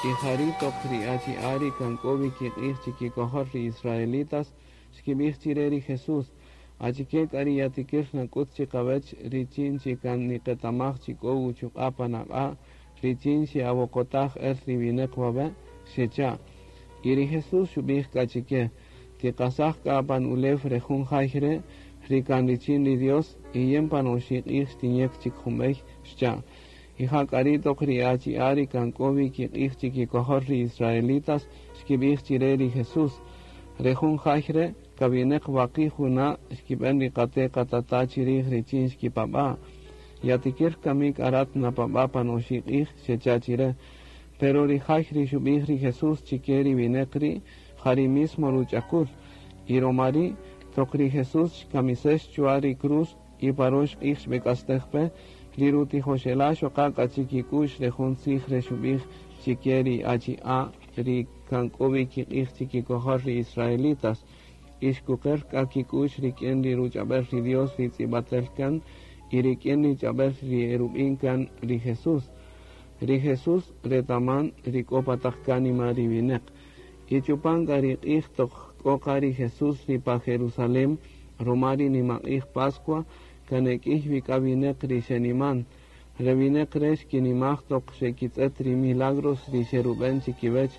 Y jari' toq ri achi'a' ri kan k'o wi kiq'ij chikikojol ri israelitas xkib'ij chire ri Jesús: Achike k'a ri yatikir nak'ut chiqawech richin chi kan niqetamaj chi k'o uchuq'a' pan aq'a' richin xe'awoqotaj el ri wineq wawe'? Xecha'. Y ri Jesús xub'ij k'a chike: Tiqasaj k'a pan ulew re jun jay re' ri kan richin ri Dios, y yin pan oxi' q'ij xtinyek chik jun b'ey, xcha'. Y ja k'a ri' toq ri achi'a' ri kan k'o wi kiq'ij chikikojol ri israelitas xkib'ij chire ri Jesús: Re jun jay re' kawineq waqi' juna' xkib'en ri qate' qatata' chirij richin xkipab'a'. Yatikir kami k'a rat napab'a' pan oxi' q'ij? Xecha' chire. Pero ri jay ri xub'ij ri Jesús chike ri wineq ri' ja ri mismo ruch'akul. Y roma ri' toq ri Jesús xkamisex chwa ri cruz y pa rox q'ij xb'ek'astej pe, ri rutijoxela' xoqa' k'a chikik'u'x re jun tzij re xub'ij chike ri achi'a' ri kan k'o wi kiq'ij chikikojol ri israelitas. Y xkuqer k'a kik'u'x rik'in ri ruch'ab'el ri Dios ri tz'ib'atel kan y rik'in ri ch'ab'el ri erub'in kan ri Jesús. Ri Jesús retaman ri k'o pa taq kánima ri wineq. Y chupan k'a ri q'ij toq k'o qa ri Jesús ri pa Jerusalén ruma ri nimaq'ij Pascua, kan e k'iy wi k'a wineq ri xeniman. Re wineq re' xkinimaj toq xekitz'et ri milagros ri xerub'en chikiwech.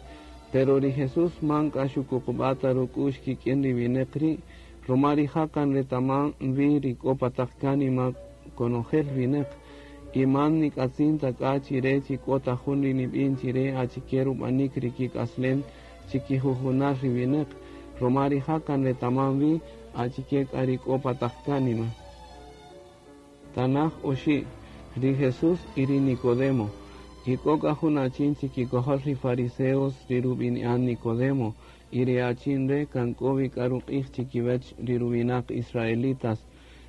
Pero ri Jesús man k'a xukuqub'a' ta ruk'u'x kik'in ri wineq ri', ruma rija' kan retaman wi ri k'o pa taq kánima konojel wineq. Y man nik'atzin ta k'a chire chi k'o ta jun ri nib'in chire achike rub'anik ri kik'aslen chikijujunal ri wineq, ruma rija' kan retaman wi achike k'a ri k'o pa taq kánima. Tanaj oxi', ri Jesús y ri Nicodemo. Y k'o k'a jun achin chikikojol ri fariseos ri rub'ini'an Nicodemo, y ri achin re' kan k'o wi k'a ruq'ij chikiwech ri ruwinaq israelitas.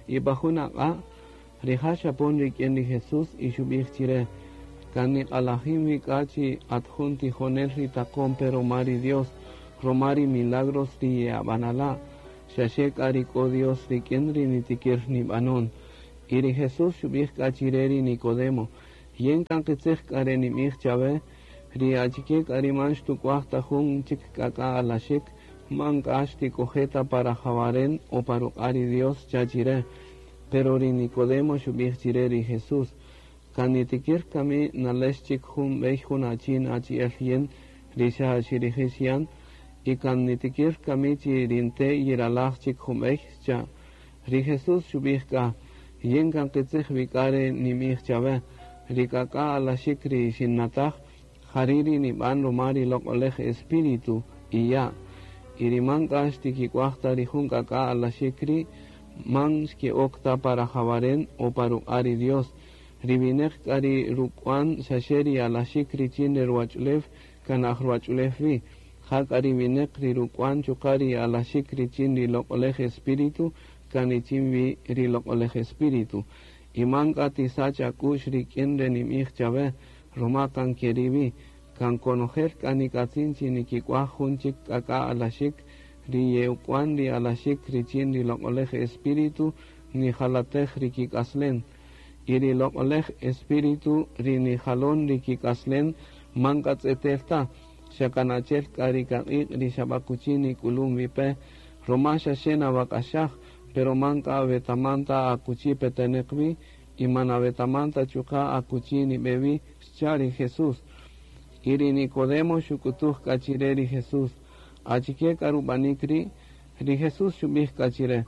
Y pa jun aq'a', rija' xapon rik'in ri Jesús y xub'ij chire: Kan niq'alajin wi k'a chi at jun tijonel ri taqon pe ruma ri Dios, ruma ri milagros ri ye'ab'anala', xaxe k'a ri k'o Dios rik'in ri nitikir nib'anon. Y ri Jesús xub'ij k'a chire ri Nicodemo: Yin kan qitzij k'a re nib'ij chawe, ri achike k'a ri man xtuk'waj ta jun chik k'ak'a' alaxik, man k'a xtik'oje' ta pa rajawaren o pa ruq'a' ri Dios, xcha' chire. Pero ri Nicodemo xub'ij chire ri Jesús: Kan nitikir kami nalex chik jun b'ey jun achin achi'el yin ri xa xirijix yan? Y kan nitikir kami chi ri nte' yiralaj chik jun b'ey? Xcha'. Ri Jesús xub'ij k'a: Yin kan qitzij wi k'a re ninb'ij chawe, ri k'ak'a' alaxik ri xinnataj, jari' ri nib'an ruma ri Loq'olej Espíritu y ya'. Y ri man k'a xtikik'waj ta ri jun k'ak'a' alaxik ri', man xke'ok ta pa rajawaren o pa ruq'a' ri Dios. Ri wineq k'a ri ruk'wan xaxe ri alaxik richin re ruwach'ulew kan aj ruwach'ulew wi, ja k'a ri wineq ri ruk'wan chuqa' ri alaxik richin ri Loq'olej Espíritu kan richin wi ri Loq'olej Espíritu. Y man k'a tisach ak'u'x rik'in re ninb'ij chawe, ruma kan keri' wi. Kan konojel k'a nik'atzin chi nikik'waj jun chik k'ak'a' alaxik, ri ye'uk'wan ri alaxik richin ri Loq'olej Espíritu nijalatej ri kik'aslen. Y ri Loq'olej Espíritu ri nijalon ri kik'aslen man k'a tz'etel ta, xa kan achi'el k'a ri kaq'iq' ri xab'akuchi nik'ulun wi pe, ruma xaxe nawak'axaj, pero man k'a awetaman ta akuchi peteneq wi y man awetaman ta chuqa' akuchi nib'e wi, xcha' ri Jesús. Y ri Nicodemo xuk'utuj k'a chire ri Jesús: Achike k'a rub'anik ri'? Ri Jesús xub'ij k'a chire: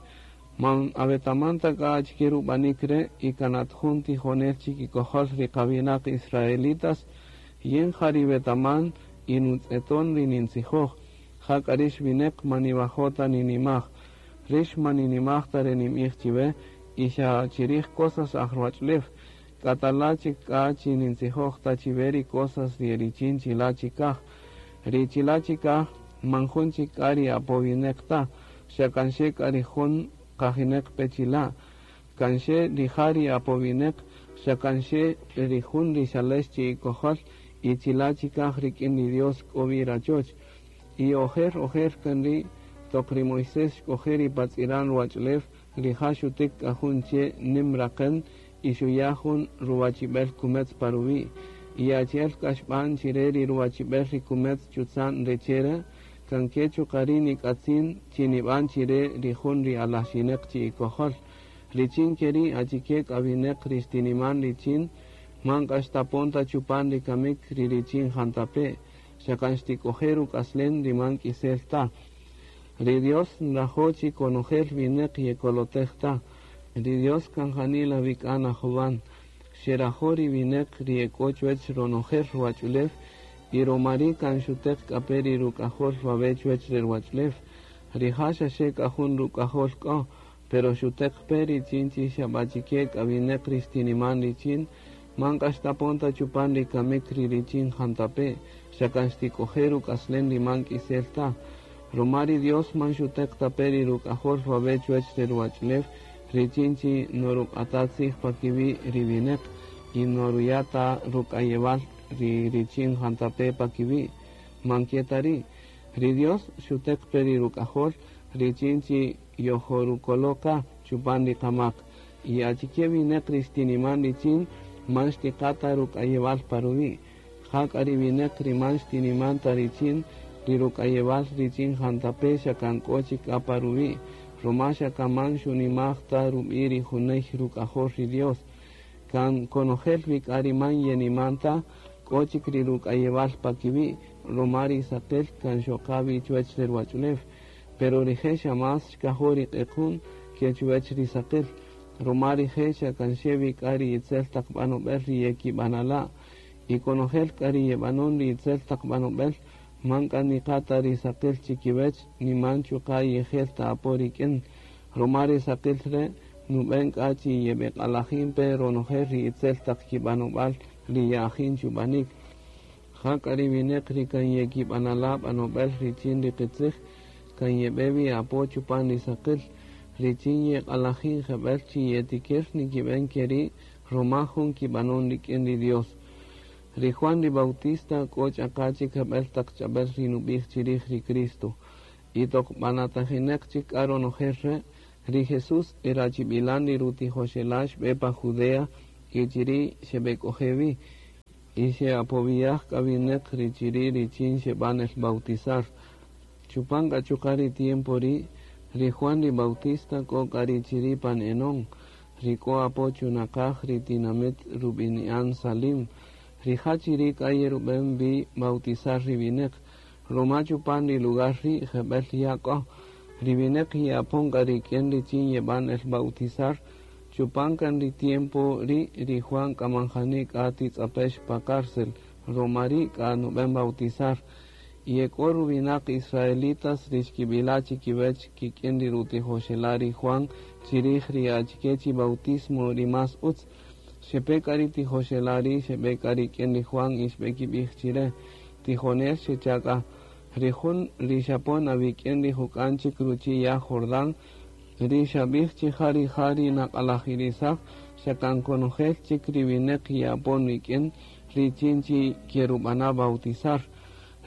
Man awetaman ta k'a achike rub'anik re' y kan at jun tijonel chikikojol ri qawinaq israelitas? Yin ja ri wetaman y nutz'eton ri nintzijoj, ja k'a rix wineq man niwajo' ta ninimaj. Rix man ninimaj ta re ninb'ij chiwe y xa chirij cosas aj ruwach'ulew, k'a tala' chik k'a chi nintzijoj ta chiwe ri cosas ri e richin chila' chikaj. Ri chila' chikaj man jun chik k'a ri apowineq ta, xa kan xe k'a ri jun qajineq pe chila'. Kan xe rija' ri apowineq, xa kan xe ri jun ri xalex chi'ikojol y chila' chikaj rik'in ri Dios k'o wi rachoch. Y ojer ojer kan ri' toq ri Moisés xk'oje' ri pa tz'iran ruwach'ulew, rija' xutik k'a jun che' nim raqen y xuya' jun ruwachib'el kumetz pa ruwi'. Y achi'el k'a xb'an chire ri ruwachib'el ri kumetz chutza'n re che' re', kan ke chuqa' ri' nik'atzin chi nib'an chire ri jun ri alaxineq chi'ikojol. Richin keri' achike k'a wineq ri xtiniman richin, man k'a xtapon ta chupan ri kamik ri richin jantape', xa kan xtik'oje' ruk'aslen ri man k'isel ta. Ri Dios nrajo' chi konojel wineq yekolotej ta. Ri Dios kan janila wi k'a najowan. Xerajo' ri wineq ri ek'o chuwech ronojel ruwach'ulew y roma ri' kan xuteq k'a pe ri ruk'ajol wawe' chuwech re ruwach'ulew. Rija' xaxe k'a jun ruk'ajol k'o, pero xuteq pe richin chi xab'achike k'a wineq ri xtiniman richin, man k'a xtapon ta chupan ri kamik ri richin jantape', xa kan xtik'oje' ruk'aslen ri man k'isel ta. Roma ri Dios man xuteq ta pe ri ruk'ajol wawe' chuwech re ruwach'ulew, richin chi noruq'ata tzij pa kiwi' ri wineq y noruya' ta ruk'ayewal ri richin jantape' pa kiwi'. Man ke ta ri'. Ri Dios xuteq pe ri ruk'ajol richin chi yojorukolo' chupan ri qamak. Y achike wineq ri xtiniman richin man xtiqa ta ruk'ayewal pa ruwi'. Ja k'a ri wineq ri man xtiniman ta richin ri ruk'ayewal richin jantape' xa kan k'o chik k'a pa ruwi', roma xa kan man xunimaj ta rub'i' ri juney ruk'ajol ri Dios. Kan konojel wi k'a ri man yeniman ta, k'o chik ri ruk'ayewal pa kiwi', roma ri saqil kan xoqa wi chuwech re ruwach'ulew. Pero rije' xa más xkajo' ri q'equn ke chuwech ri saqil, roma rije' xa kan xe wi k'a ri itzel taq b'anob'el ri yekib'anala'. Y konojel k'a ri yeb'anon ri itzel taq b'anob'el, man k'a niqa ta ri saqil chikiwech, ni man chuqa' yejel ta apo rik'in. Roma ri saqil re' nub'en k'a chi yeb'eq'alajin pe ronojel ri itzel taq kib'anob'al ri ye'ajin chub'anik. Ja k'a ri wineq ri kan yekib'anala' b'anob'el richin ri qitzij, kan yeb'e wi apo chupan ri saqil, richin yeq'alajin jeb'el chi yetikir nikib'en keri' roma jun kib'anon rik'in ri Dios. Ri Juan ri Bautista k'o ch'aqa chik jeb'el taq ch'ab'el ri nub'ij chirij ri Cristo. Y toq b'anatajineq chik k'a ronojel re', ri Jesús e rachib'ilan ri rutijoxela' xb'e pa Judea y chiri' xeb'ek'oje' wi. Y xe'apowiyaj k'a wineq ri chiri' richin xeb'an el bautizar. Chupan k'a chuqa' ri tiempo ri', ri Juan ri Bautista k'o k'a ri chiri' pan Enón, ri k'o apo chunaqaj ri tinamit rub'ini'an Salim. Rija' chiri' k'a yerub'en wi bautizar ri wineq, roma chupan ri lugar ri' jeb'el ya' k'o. Ri wineq ye'apon k'a rik'in richin yeb'an el bautizar, chupan kan ri tiempo ri' ri Juan k'a man jani k'a titz'apex pa cárcel, roma ri' k'a nub'en bautizar. Y ek'o ruwinaq israelitas ri xkib'ila' chikiwech kik'in ri rutijoxela' ri Juan chirij ri achike chi bautismo ri más utz. Xepe k'a ri tijoxela' ri' xeb'e k'a rik'in ri Juan y xb'ekib'ij chire. Tijonel xecha' k'a. Ri jun ri xapon awik'in ri juk'an chik ruchi' ya' Jordán, ri xab'ij chi ja rija' ri naq'alajirisaj, xa kan konojel chik ri wineq ye'apon rik'in richin chi kerub'ana' bautizar.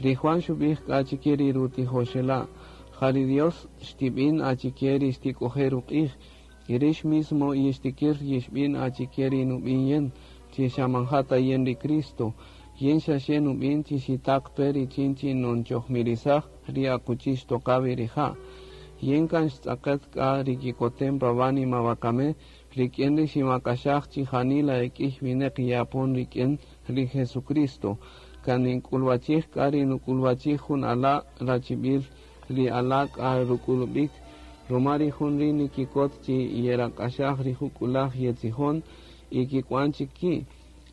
Ri Juan xub'ij k'a chike ri rutijoxela', ja ri Dios xtib'in achike ri xtik'oje' ruq'ij, y rix mismo yixtikir yixb'in achike ri nub'in yin, chi xa man ja ta yin ri Cristo. Yin xaxe nub'in chi xitaq pe richin chi nonchojmirisaj ri akuchi xtoqa wi rija'. Yin kan xtz'aqet k'a ri kikotem pa wánima wakame, rik'in ri ximak'axaj chi janila ek'ïy wineq ye'apon rik'in ri Jesucristo. Kan nink'ulwachij k'a ri nuk'ulwachij jun ala' rachib'il ri ala' k'a ruk'ulub'ik, roma ri jun ri' nikikot chi yerak'axaj ri juk'ulaj yetzijon y kik'wan chik ki'.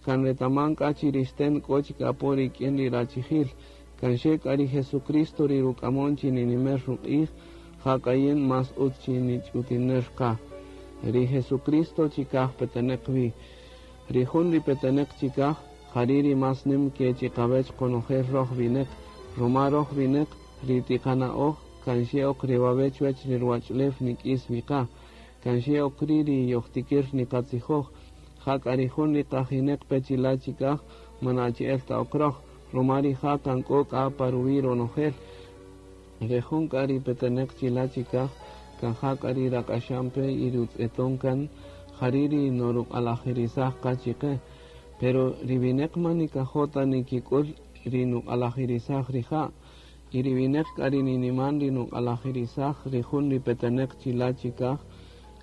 Kan retaman k'a chi ri xten k'o chik apo rik'in ri rachijil. Kan xe k'a ri Jesucristo ri ruk'amon chi ninimer ruq'ij, ja k'a yin más utz chi nich'utiner qa. Ri Jesucristo chikaj peteneq wi. Ri jun ri peteneq chikaj, jari' ri más nim ke chiqawech qonojel roj wineq, roma roj wineq ri tiqana'oj kan xe ok ri wawe' chuwech ri ruwach'ulew nik'is wi qa. Kan xe ok ri' ri yojtikir niqatzijoj, ja k'a ri jun ri qajineq pe chila' chikaj man achi'el ta ok roj, roma rija' kan k'o k'a pa ruwi' ronojel. Ri jun k'a ri peteneq chila' chikaj, kan ja k'a ri rak'axan pe y rutz'eton kan, jari' ri noruq'alajirisaj qa chiqe. Pero ri wineq man nikajo' ta nikik'ul ri nuq'alajirisaj rija'. Y ri wineq k'a ri niniman ri nuq'alajirisaj ri jun ri peteneq chila' chikaj,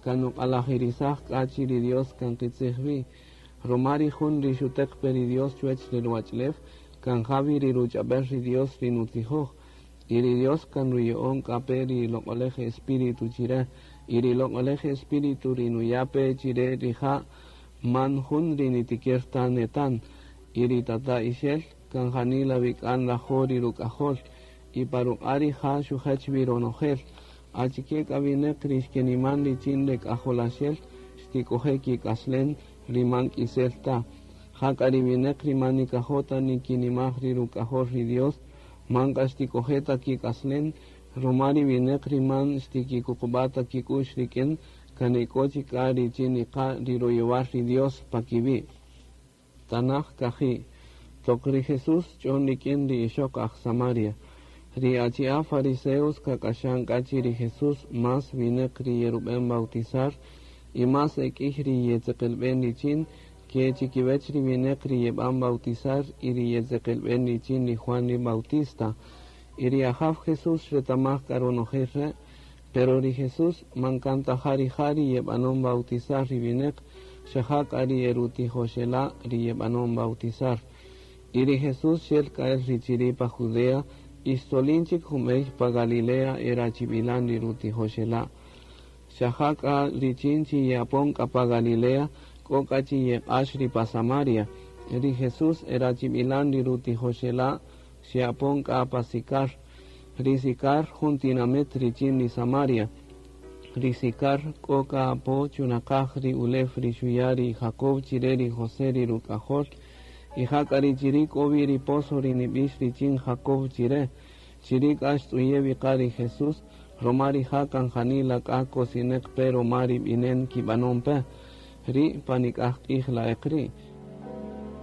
kan nuq'alajirisaj k'a chi ri Dios kan qitzij wi. Roma ri jun ri xuteq pe ri Dios chuwech re ruwach'ulew, kan ja wi ri ruch'ab'el ri Dios ri nutzijoj. Y ri Dios kan ruya'on k'a pe ri Loq'olej Espíritu chire. Y ri Loq'olej Espíritu ri nuya' pe chire rija' man jun ri nitikir ta netan. Y ri Tata'ixel kan janila wi k'a nrajo' ri ruk'ajol. Y pa ruq'a' rija' xujech wi ronojel. Achike k'a wineq ri xkeniman richin re k'ajolaxel xtik'oje' kik'aslen ri man k'isel ta. Jak'a ri wineq ri man nikajo' ta nikinimaj ri ruk'ajol ri Dios, man k'a xtik'oje' ta kik'aslen, roma ri wineq ri man xtikikuqub'a' ta kik'u'x rik'in, kan ek'o chik k'a richin niqa' ri royowal ri Dios pa kiwi'. Tanaj kaji'. Toq ri Jesús xch'on rik'in ri ixoq aj Samaria. Ri achi'a' fariseos kak'axan k'a chi ri Jesús más wineq ri yerub'en bautizar y más e k'iy ri yetzeqelb'en richin, ke chikiwech ri wineq ri yeb'an bautizar y ri yetzeqelb'en richin ri Juan ri Bautista. Y ri Ajaw Jesús xretamaj k'a ronojel re', pero ri Jesús man kan ta ja rija' ri yeb'anon bautizar ri wineq, xa ja k'a ri erutijoxela' ri yeb'anon bautizar. Y ri Jesús xel k'a el ri chiri' pa Judea y xtzolin chik jun b'ey pa Galilea erachib'ilan ri rutijoxela'. Xa ja k'a richin chi ye'apon k'a pa Galilea, k'o k'a chi yeq'ax ri pa Samaria. Ri Jesús erachib'ilan ri rutijoxela' xe'apon k'a pa Sicar. Ri Sicar jun tinamit richin ri Samaria. Ri Sicar k'o k'a apo chunaqaj ri ulew ri xuya' ri Jacob chire ri José ri ruk'ajol. Y ja k'a ri chiri' k'o wi ri pozo ri nib'ix richin Jacob chire. Chiri' k'a xtz'uye' wi qa ri Jesús, roma rija' kan janila k'a kosineq pe roma ri b'inen kib'anon pe. Ri' pa nik'aj q'ij la'eq ri'.